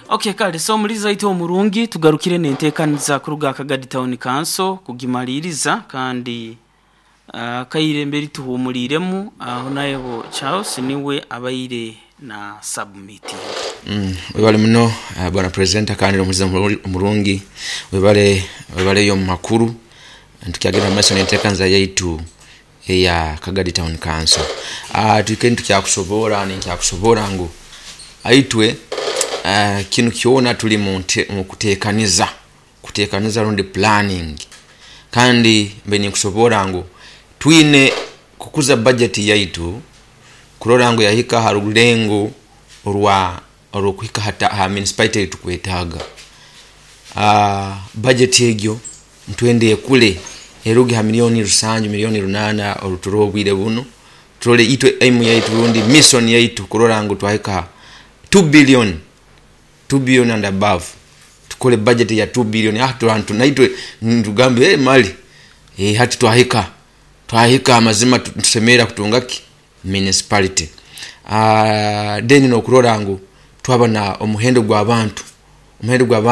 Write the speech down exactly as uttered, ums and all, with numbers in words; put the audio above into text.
Okay, kale so omuliza itu omurungi tugarukire nenteekaniza kuruga Akagadi Town Council kugimaliriza kandi uh, kaire mberi tuhumuliremu aho nayo Charles niwe abaire na submitting. Mm, webale muno uh, bwana president, kandi omuliza omurungi, webale, webaleyo mu makuru. Tukyagenda mumaiso nenteekaniza yaitu eya Kagadi Town Council. uh, twike nitukyakusobora ninkyakusobora ngu aitwe uh, kinu kyona tuli mu kuteekaniza kuteekaniza rundi planning. Kandi mbe ninkusobora ngu twine kukuza budget yaitu kurora ngu yahika ha rulengo orwa orwokuhika hata ha municipality etukwetaaga. uh, budget egyo ntwende ekule, eruge ha milioni rusanju, milioni runana oruturoho obwire buno. Turole itwe aim yaitu rundi mission yaitu kurora ngu twahika two billion, two billion and above. Tukole budget ya two billion, ah turantu naitwe ntugambe, hey, mali eh hati twahika twahika amazima tusemera kutunga ki municipality. Ah, then nokurora ngu twaba na omuhendo gw'abantu omuhendo gw'abantu.